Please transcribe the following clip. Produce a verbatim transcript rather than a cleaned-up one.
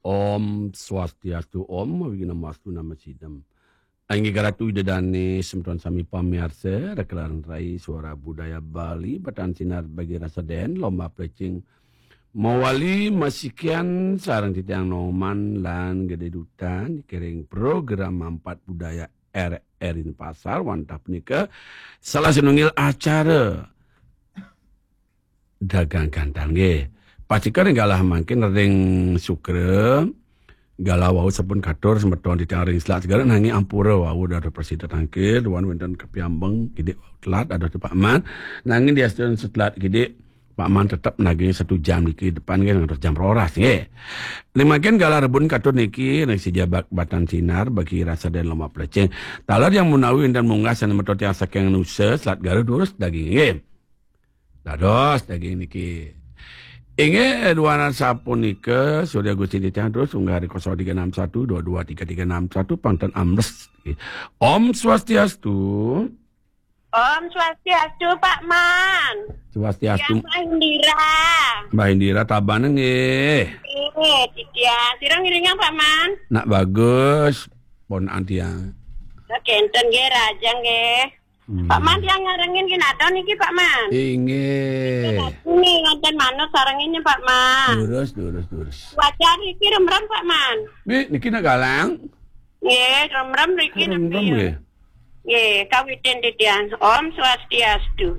Om Swastiastu, Om Awighnam Astu Namo Sidham. Inggih Ratu Ida Dane, semeton sami pamiarsa, Rekelan Rai Suara Budaya Bali, Batan Sinar bagi rasa den, lomba plecing mawali masikian sareng titiang Noman lan Gede Dutan, kiring program Mampat Budaya R R I Denpasar, wantah punika salah sinunggil acara dagang gantang nggih. Pastika ring galah mangkin ring Sukra, galah wau sampun katur semeton titiang ring Selat Segara, nanging ampura wau dados prasida tangkil, duan wenten kapiambeng kidik wau telat dados Pak Man. Nanging diastun setelat kidik Pak Man tetep naging satu jam niki depan nggih ngantos jam roras nggih. Ring mangkin galah rebun katur niki ring sija bak-, Batan Sinar bagi rasa den lomba plecing. Taler yang menawi wenten munggah sané menawi tiang saking Nusa, Selat Garut durus daging nggih. Dados daging niki. Inggih, duanan sapunika, Surya Gusti titiang terus unggah di kosong tiga enam satu dua dua tiga tiga enam satu, pangten ambles. Om Swastiastu. Om Swastiastu, Pak Man. Swastiastu. Tiang Mbah Indira. Mbah Indira, tabané nggih. Nggih, titiang. Sira ngiringang, Pak Man? Nak bagus, pon antiang. Kenten nggih, raja nggih. Hmm. Pak Man, tiang nyarengin kinadon niki, Pak Man. Inggih. Ini ngonten manut sarengin, Pak Man. Durus, durus, durus. Wajar iki remrem, Pak Man. Nggih, niki nak galang. Nggih, remrem riki. Remrem niki. Nggih. Nggih, kawitin titiang. Om Swastiastu.